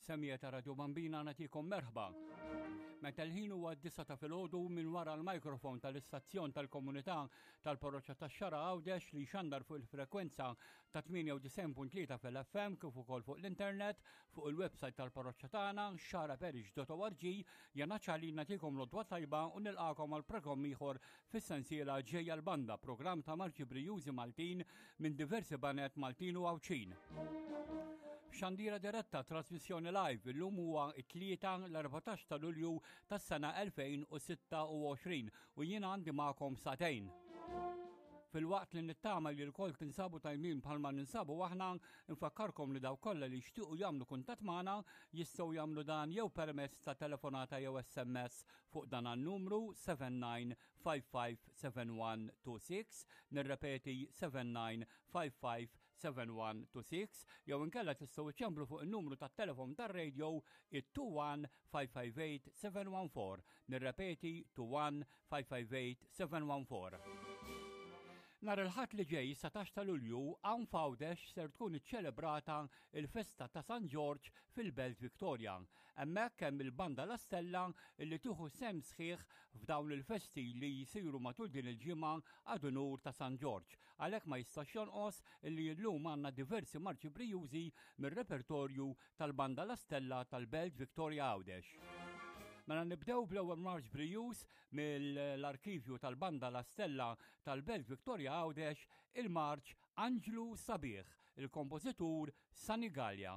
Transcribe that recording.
Semija ta' Radio Bambina nagħtikom merħba. Meta l-ħin huwa d-disa ta' filgħodu minn wara l-mikrofon tal-istazzjon tal-komunità tal-Parroċċa tax-Xara Għawdex li xandar fuq il-frekwenza ta' 98.3 fil-FM kif ukoll fuq l-internet fuq il-website tal-parroċċa tagħna xaraparish.org jana ċali nagħtikom l-odwa tajba u nilqakom għal programm ieħor fis-sensiela ġejja l-banda programm ta' marċi brijużi Maltin minn diversi banet Maltin u Għawdxin. Xandira diretta trasmissjoni live illum huwa it-tlieta l-14 ta' Lulju tas-sena 2026 u jiena għandi magħkom satejn. Filwaqt li nittama li l-kol tinsabu tajmin bħalma ninsabu aħna, nfakkarkom li daw kollha li jixtiequ jagħmlu kuntatt magħna jistgħu jagħmlu dan jew permezz ta' telefonata jew SMS fuq dan għan-numru 79557126, nirrepeti 79557126, jew inkella tistgħu iċċemplu fuq in-numru tat-telefon tar-radio it-21 558 714. Nirrepeti 21 558 714. Nhar il-Ħadd li ġej, 17 ta' Lulju, hawn f'Għawdex ser tkun iċċelebrata il-festa ta' San Ġorġ fil-Belt Victoria. Hemmhekk hemm il-Banda La Stella li tieħu sehem sħiħ f'dawn il-festi li jsiru matul din il-ġimgħa ad unur ta' San Ġorġ. Għalhekk ma jistax jonqos li llum għandna diversi marċi brijużi mir-repertorju tal-Banda La Stella tal-Belt Victoria Għawdex. Mela nibdew bl-ewwel marċ brijuż mill-arkivju tal-Banda La Stella tal-Belt Victoria Għawdex, il-marċ Anġlu Sabiħ, il-kompożitur Sani Galea.